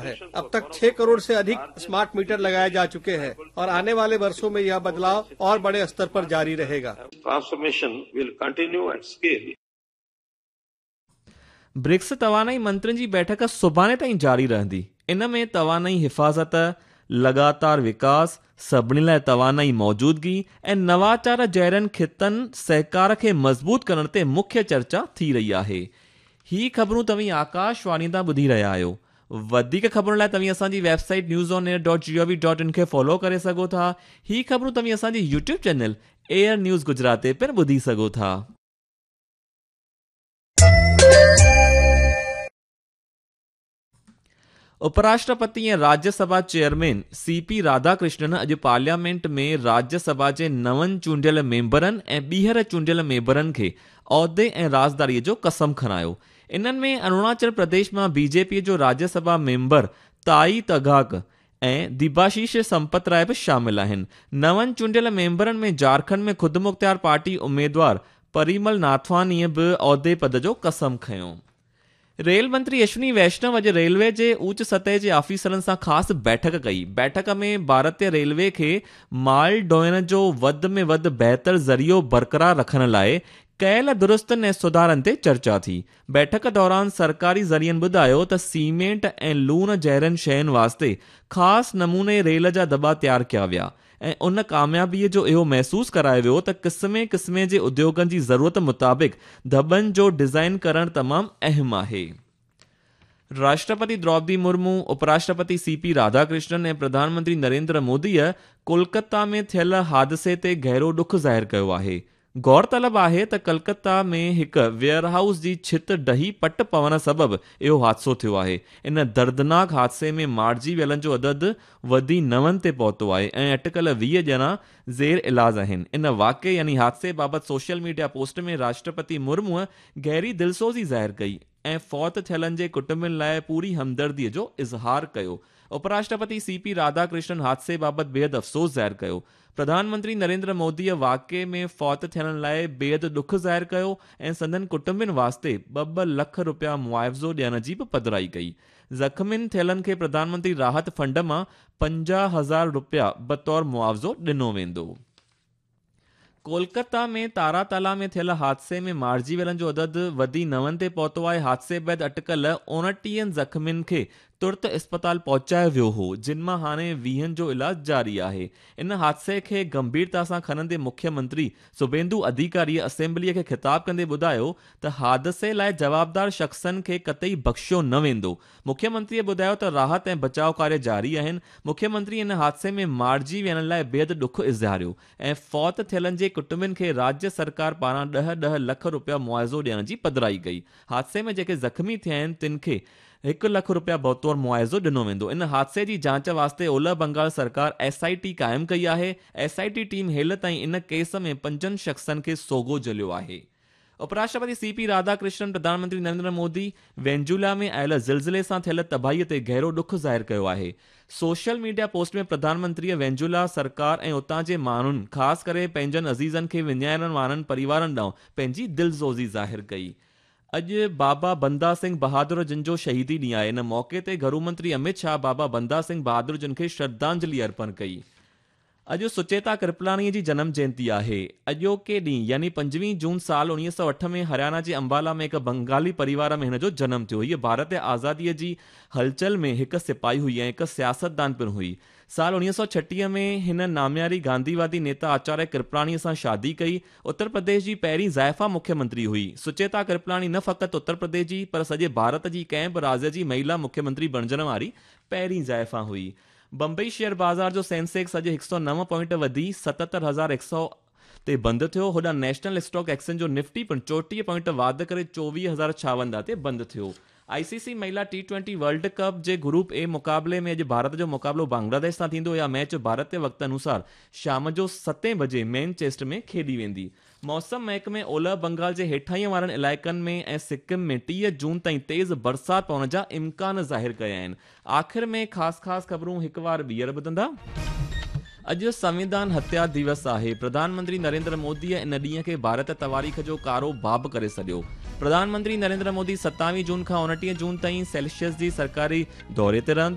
है। अब तक 6 करोड़ से अधिक स्मार्ट मीटर लगाए जा चुके हैं और आने वाले वर्षों में यह बदलाव और बड़े स्तर पर जारी रहेगा। Transformation will continue at scale. BRICS तवानाई मंत्रियुनि जी बैठक सुभाणे ताईं जारी रहंदी। इन में तवानाई हिफ़ाज़त, लॻातार विकास, सभिनी लाइ तवानाई मौजूदगी ऐं नवाचार जहिड़नि ख़ितनि सहकार खे मज़बूत करण ते मुख्य चर्चा थी रही आहे। ही ख़बरूं तव्हीं आकाशवाणी तां ॿुधी रहिया आहियो। वधीक ख़बरुनि लाइ तव्हीं असांजी website news on air dot G O V dot in खे फॉलो करे सघो था। ही ख़बरूं तव्हीं असांजी YouTube channel air news Gujarat ते पिणु ॿुधी सघो था। उपराष्ट्रपति ऐं Rajya Sabha chairman C P Radhakrishnan अॼु पार्लियामेंट में राज्यसभा जे नवनि चूंडियल मेंबरनि ऐं ॿीहर चूंडियल मेंबरनि खे औहदे ऐं राज़दारीअ जो कसम खणायो। इन्हनि में अरुणाचल प्रदेश मां बीजेपी जो राज्यसभा मेंबर ताई तगाक ऐं दिबाशीष संपत राय बि शामिल आहिनि। नवनि चूंडियल मेंबरनि में झारखंड में ख़ुदमुख़्तियार पार्टी उमेदवार परिमल नाथवानीअ बि औहदे पद जो कसम खयो। रेल मंत्री अश्विनी वैष्णव अॼु रेलवे जे ऊच सतह जे ऑफिसरनि सां ख़ासि बैठक कई। बैठक में भारतीय रेलवे खे माल ढोइण जो वधि में वधि बहितर ज़रियो बरक़रार रखण लाइ कयल दुरुस्तनि ऐं सुधारनि ते चर्चा थी। बैठक दौरान सरकारी ज़रियनि ॿुधायो त सीमेंट ऐं लूण जहिड़नि शयुनि वास्ते ख़ासि नमूने रेल जा दॿा तयारु कया विया ऐं उन कामयाबीअ जो इहो महसूसु करायो वियो त क़िस्मे क़िस्मे जे उद्योगनि जी ज़रूरत मुताबिक़ दॿनि जो डिज़ाइन करणु तमामु अहम आहे। राष्ट्रपति द्रौपदी मुर्मू, उपराष्ट्रपति सी पी राधाकृष्णन ऐं प्रधानमंत्री नरेंद्र मोदीअ कोलकाता में थियल हादसे ते गहिरो ॾुख ज़ाहिर कयो आहे। गौरतलब आहे त कलकत्ता में हिकु वेयरहाउस जी छित ढही पट पवण सबबु इहो हादसो थियो आहे। इन दर्दनाक हादसे में मारिजी वियलनि जो अदद वधी 9 ते पहुतो आहे ऐं अटकल 20 ॼणा ज़ेर इलाज आहिनि। इन वाक़े यानी हादसे बाबति सोशल मीडिया पोस्ट में राष्ट्रपति मुर्मूअ गहरी दिलसोज़ी ज़ाहिर कई ऐं फौत थियलनि जे कुटुंबनि लाइ पूरी हमदर्दीअ जो इज़हार कयो। उपराष्ट्रपति सी पी राधाकृष्णन हादसे बाबति बेहद अफ़सोस ज़ाहिर कयो। प्रधानमंत्री नरेंद्र मोदीअ वाक़े में फौत थियणु लाइ बेहद ॾुख ज़ाहिर कयो ऐं संदन कुटुंबनि वास्ते 2-2 लख रुपया मुआवज़ो ॾियण जी बि पधराई कई। ज़ख़्मियुनि थियलनि खे प्रधानमंत्री राहत फंड मां 50,000 रुपया बतौर मुआवज़ो ॾिनो वेंदो। कोलकाता में तारातला में थियल हादसे में मारिजी वियलनि जो अदद वधी 9 ते पहुतो आहे। हादसे बाद अटकल 29 ज़ख़्मियुनि खे तुर्त अस्पताल पहुचायो वियो हो, जिन मां हाणे 20 जो इलाज जारी आहे। इन हादसे खे गंभीरता सां खणंदे मुख्यमंत्री सुबेंदु अधिकारीअ असेंबलीअ खे ख़िताब कंदे ॿुधायो त हादसे लाइ जवाबदार शख़्सनि खे कतई बख़्शियो न वेंदो। मुख्यमंत्रीअ ॿुधायो त राहत ऐं बचाव कार्य जारी आहिनि। मुख्यमंत्री इन हादसे में मारिजी वियलनि लाइ बेहद ॾुख इज़हारियो ऐं फौत थियलनि जे कुटुंबनि खे राज्य सरकार पारां 10-10 लख रुपया मुआवज़ो ॾियण जी पधराई कई। हादसे में जेके ज़ख़्मी थिया आहिनि तिन खे 1 लख रुपया बतौर मुआवज़ो ॾिनो वेंदो। इन हादसे जी जांच वास्ते ओलह बंगाल सरकार एसआईटी क़ाइमु कई आहे। एसआईटी टीम हेल ताईं इन केस में 5 शख़्सनि खे सोगो जलियो आहे। उपराष्ट्रपति सी पी राधाकृष्णन प्रधानमंत्री नरेंद्र मोदी वेनेजुएला में आयल ज़िलज़िले सां थियल तबाहीअ ते गहिरो ॾुख ज़ाहिर कयो आहे। सोशल मीडिया पोस्ट में प्रधानमंत्रीअ वेनेजुएला सरकार ऐं उतां जे माण्हुनि ख़ासि करे पंहिंजनि अज़ीज़नि खे विञाइण वारनि परिवारनि ॾांहुं पंहिंजी दिलसोज़ी ज़ाहिर कई। अॼु बाबा बंदा सिंह बहादुर जिन जो शहीदी ॾींहुं आहे। इन मौक़े ते घरू मंत्री अमित शाह बाबा बंदा सिंह बहादुर जिन खे श्रद्धांजलि अर्पण कई। अॼु सुचेता कृपलानीअ जी जनम जयंती आहे। अॼोके ॾींहुं यानी 25 जून साल 1908 में हरियाणा जे अंबाला में हिकु बंगाली परिवार में हिन जो जनम थियो। हीअ भारत आज़ादीअ जी हलचल में हिकु सिपाही हुई ऐं हिकु सियासतदान पिणु हुई। साल 1936 में हिन नामियारी गांधीवादी नेता आचार्य कृपलानीअ सां शादी कई। उत्तर प्रदेश जी पहिरीं ज़ाइफ़ा मुख्यमंत्री हुई। सुचेता कृपलानी न फ़क़ति उत्तर प्रदेश जी पर सॼे भारत जी कंहिं बि राज्य जी महिला मुख्यमंत्री बणिजण वारी पहिरीं ज़ाइफ़ा हुई। बंबई शेयर बाज़ार जो सेंसेक्स अॼु 109 पॉइंट वधी 77,100 ते बंदि थियो। होॾां नेशनल स्टॉक एक्सचेंज जो निफ्टी पिणु 34 पॉइंट वाध करे 24,056 ते बंदि थियो। आईसीसी महिला T20 world cup J group A मुक़ाबले में अॼु भारत जो मुक़ाबिलो बांग्लादेश सां थींदो। इहा मैच भारतीय वक़्त अनुसार शाम जो 7 बजे मैनचेस्टर में खेॾी वेंदी। मौसम महकमे ओलह बंगाल जे हेठाईं वारनि इलाइक़नि में ऐं सिक्किम में 30 जून ताईं तेज़ बरसाति पवण जा इम्कान ज़ाहिर कया आहिनि। आख़िर में ख़ासि ख़ासि ख़बरूं हिकु वार ॿीहर ॿुधंदा। اڄ سنويڌان هتيا ديوس آهي. پرڌان منتري نريندر موديء ان ڏينهن کي ڀارت تواريخ جو ڪارو باب ڪري سڏيو. پرڌان منتري نريندر مودي ستاويهه جون کان اڻٽيهه جون تائين سيلشس جي سرڪاري دوري تي رهندو.